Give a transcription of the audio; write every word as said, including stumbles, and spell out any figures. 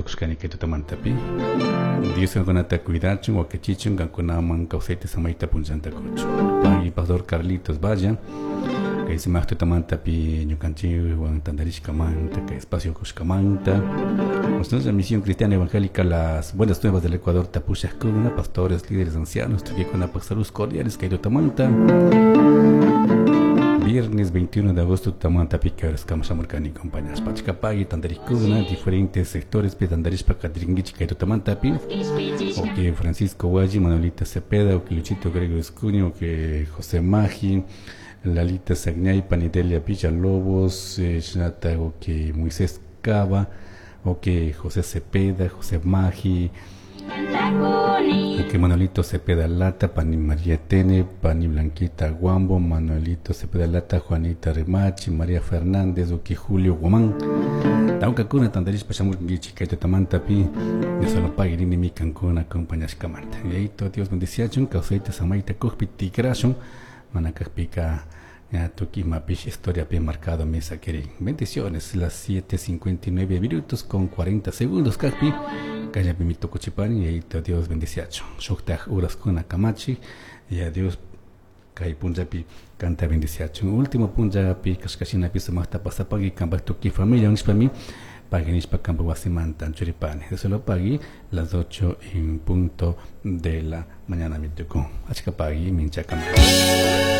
Tukushkani kay tutamantapi. Dios kankunata cuidachun, wakichichun, kankunaman kawsayta samayta punllanta kuchun. Pagui Pastor Carlitos Vaya. Kay sumaq tutamantapi ñukanchikwan tantarishkamanta, kay espacio kushkamanta. Nuestra misión cristiana evangélica Las Buenas Nuevas del Ecuador tapushajkuna, pastores, líderes, ancianos, tukuykunapak saludos cordiales kay tutamanta. Viernes veintiuno de agosto tutamantapi kawrashkama shamurkani compañeros. Pachkapagui tantarikuna diferentes sectores pi tantarishpa katirinkichik kay tutamantapi. O que Francisco Guayi, Manuelita Cepeda, o que Luchito Gregorio Escuño, o que José Magi, Lalita Sagñay, Panidelia Villalobos, eh, Shinata, o que Moisés Cava, o que José Cepeda, José Magi, o que Manuelito Cepeda Lata, Pani María Tene, Pani Blanquita Guambo, Manuelito Cepeda Lata, Juanita Remachi, María Fernández, o que Julio Guamán. Tawkakuna tantarishpa shamurkankichik kay tutamantapi, Dios solo pague rini kankuna acompañashkamanta. Yayito Dios bendiciachun, kawsayta samayta kukpi tikrashun, mana kakpika ya tukuy imapish historia pi marcado mesa quieren. Bendiciones, las siete cincuenta y nueve minutos con cuarenta segundos kakpi. Kayllapi mi tukuchipani, yayito Dios bendiciachun. Shuktaj uraskuna kamachi, y a Dios kay punllapi kanta bendiciachun. Último punllapi kashkashinapi sumaqta pasapagui kanpak tukuy familia nishpami pagui nishpa kanpak wasimanta churipani. Eso lo pagui las ocho en punto de la mañana mi tukun. Achka pagui minchakama.